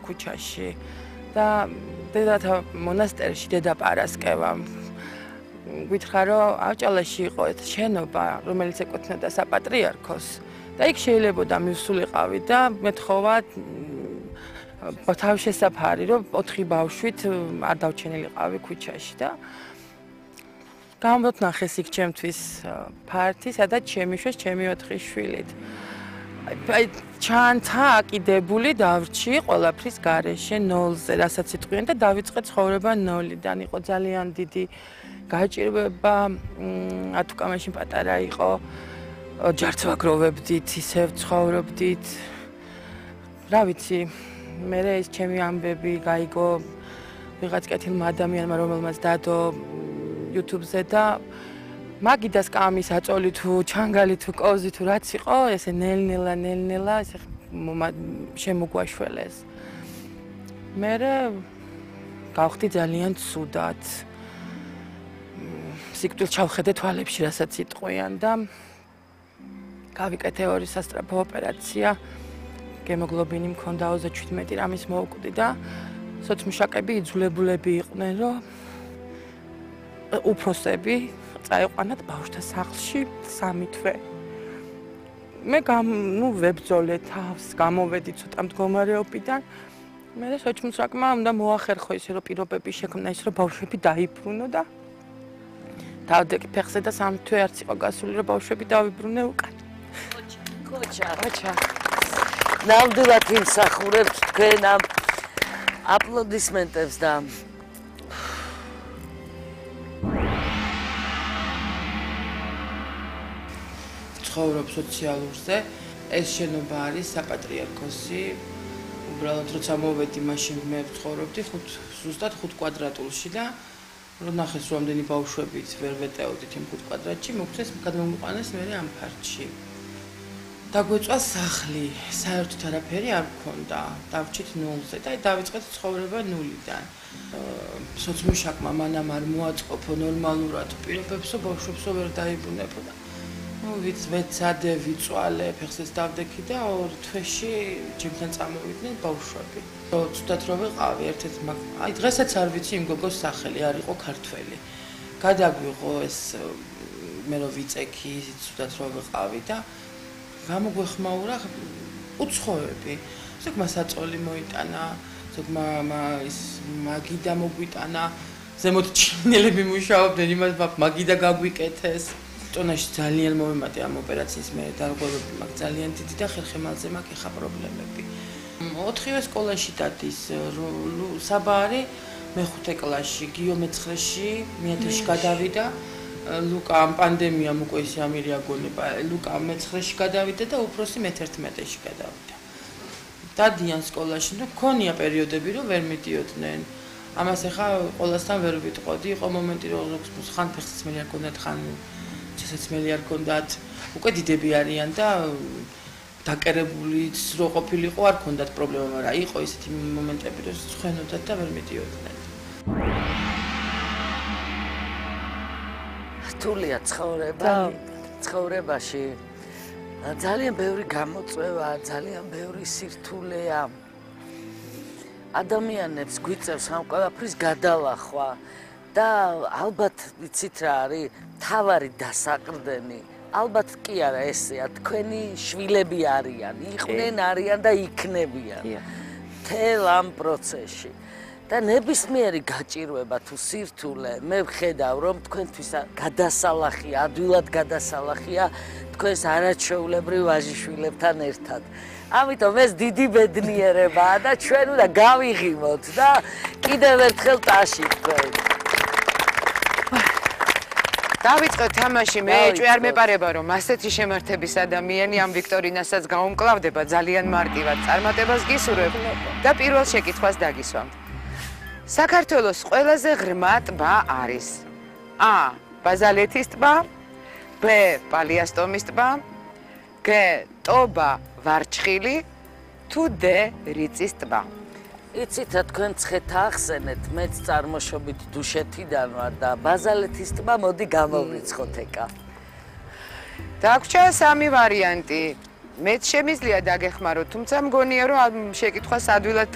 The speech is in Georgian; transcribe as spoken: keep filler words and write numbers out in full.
ქუჩაში და დედათა მონასტერში დედაპარასკევა. გითხრა რომ ავჭალაში იყო ეს შენობა, რომელიც ეკუთვნოდა საპატრიარქოს და იქ შეიძლებოდა მივსულიყავი და მეთხოვა თავშესაფარი რომ ოთხი ბავშვით არ დავჩენილიყავი ქუჩაში და გამოდნახეს იქ ჩემთვის ფართი, სადაც შემიშვეს ჩემი ოთხი შვილით. აი ჩანთა აკიდებული დავრჩი ყველაფრის გარეშე ნოლზე, რასაც იტყვიან და დავიწყე ცხოვრება ნოლიდან. იყო ძალიან დიდი გაჭირვება, ათუკა მაშინ პატარა იყო, ჯარც ვაგროვებდით, ისევ ცხოვრობდით. რა ვიცი, მე ეს ჩემი ამბები გაიგო ვიღაც კეთილმა ადამიანმა, რომელმაც დადო YouTube-ზე და მაგიდას კამის აწოლი თუ ჩანგალი თუ კოზი თუ რაც იყო, ესე ნელ-ნელა ნელ-ნელა ესე შემოგვაშველეს. მე გავხდი ძალიან ცუდად. სიკვდილს ჩავხედე თვალებში, რასაც იტყვიან და გავიკეთე ორი სასწრაფო ოპერაცია. გემოგლობინი მქონდა ოცდაშვიდმეტი რამის მოვკვდი და სოცმუშაკები იძულებულები იყვნენ, რომ უფროსები წაიყვანათ ბავშვთა სახლში სამი თვე. მე ნუ ვებძოლე თავს, გამოვედი ცოტა მდგომარეობიდან. მე სოცმუშაკმა უნდა მოახერხო ისე რომ პირობები შექმნა ის რომ ბავშვები დაიბრუნო და დავდექი ფეხზე და სამი თვე არც იყო გასული რომ ბავშვები დავიბრუნე უკან. კოჩა, კოჩა. ნამდვილად იმსახურებთ თქვენ ამ აპლოდისმენტებს და ცხოვრობ სოციალურზე. ეს შენობა არის საპატრიარქოსი. უბრალოდ როცა მოვედი, მაშინ მე ვცხოვრობდი ზუსტად ხუთ კვადრატულში და რომ ნახეს რომ ამდენი ბავშვებით ვერ ვეტეოდით იმ ხუთ კვადრატში, მოგვცეს გადმომიყვანეს მე ამ ფართში. დაგვეწვა სახლი, საერთოდ არაფერი არ მქონდა, დავჭით ნულზე და დავიწყეთ ცხოვრება ნულიდან. სოცმუშაკმა მანამ არ მოაწყობო ნორმალურად პირობებსო, ბავშვებსო ვერ დაიბრუნებო და ნუ ვიც ვეცადე, ვიწვალე, ფეხზეც დავდექი და ორ თვეში ჩემთან წამოვიდნენ ბავშვები. ცუდად რომ ვიყავი, ერთ-ერთ აი დღესაც არ ვიცი იმ გოგოს სახელი, არ იყო ქართველი. გადაგვიღო ეს მე რომ ვიწექი, ცუდად რომ ვიყავი და გამოგვეხმაურა უცხოები. ზოგმა საწოლი მოიტანა, ზოგმა ის მაგიდა მოგვიტანა, ზემოთ ჩინელები მუშაობდნენ, იმას მაგიდა გაგვიკეთეს. ტონაში ძალიან მომემატე ამ ოპერაციის მე დარღვევები მაქვს ძალიან დიდი და ხერხემალზე მაქვს ეხა პრობლემები. ოთხივე სკოლაში დადის საბარი, მეხუთე კლასში, გიო მეცხრეში, მეათეში გადავიდა. ლუკა ამ პანდემიამ უკვე ისე ამირია გონება. ლუკა მეცხრეში გადავიდა და უფროსი მეთერთმეტეში გადავიდა. დადიან სკოლაში, ნუ ქონია პერიოდები, რომ ვერ მიდიოდნენ. ამას ახლა ყველასთან ვერ ვიტყოდი, იყო მომენტი, რომ ხან ფეხსაცმელი არ გქონდათ, ხან შესაძლებელი არ გქონდათ. უკვე დიდები არიან და დაკერებულიც რო ყოფილიყო, არ გქონდათ პრობლემა, მაგრამ იყო ისეთი მომენტები, რომ ცხენოდათ და ვერ მიდიოდნენ. რთულია ცხოვრება, ცხოვრებაში ძალიან ბევრი გამოწვევა, ძალიან ბევრი სირთულეა. ადამიანებს გვიწევს ამ ყველაფრის გადალახვა და ალბათ ვიცით რა არის, თავარი დასაყრდენი. ალბათ კი არა ესეა, თქვენი შვილები არიან, იყვნენ არიან და იქნებიან. მთელ ამ პროცესში. და ნებისმიერი გაჭირვება თუ სირთულე მე ვხედავ რომ თქვენთვის გადასალახია, ადვილად გადასალახია თქვენს არაჩვეულებრივ ვაჟიშვილებთან ერთად. ამიტომ ეს დიდი ბედნიერებაა და ჩვენ უნდა გავიღიმოთ და კიდევ ერთხელ ტაში თქვენ. დავიწყოთ თამაში, მე ეჭვი არ მეპარება რომ ასეთი შემართების ადამიანი ამ ვიქტორინასაც გაუმკლავდება ძალიან მარტივად წარმატებას გისურვებ და პირველ შეკითხვას დაგისვამთ. საქართველოს ყველაზე ღრმა ტბა არის A. ბაზალეთის ტბა, B. პალიასტომის ტბა, G. ტობა ვარჩხილი, თუ D. რიწის ტბა. იცით რა თქვენ ცხეთა ახსენეთ, მეც წარმოშობით დუშეთიდან ვარ და ბაზალეთის ტბა მოდი გამოვრიცხოთ ეკა. დაგვრჩა სამი ვარიანტი. მეც შემიძლია დაგეხმაროთ, თუმცა მგონია რომ ამ შეკითხვას ადვილად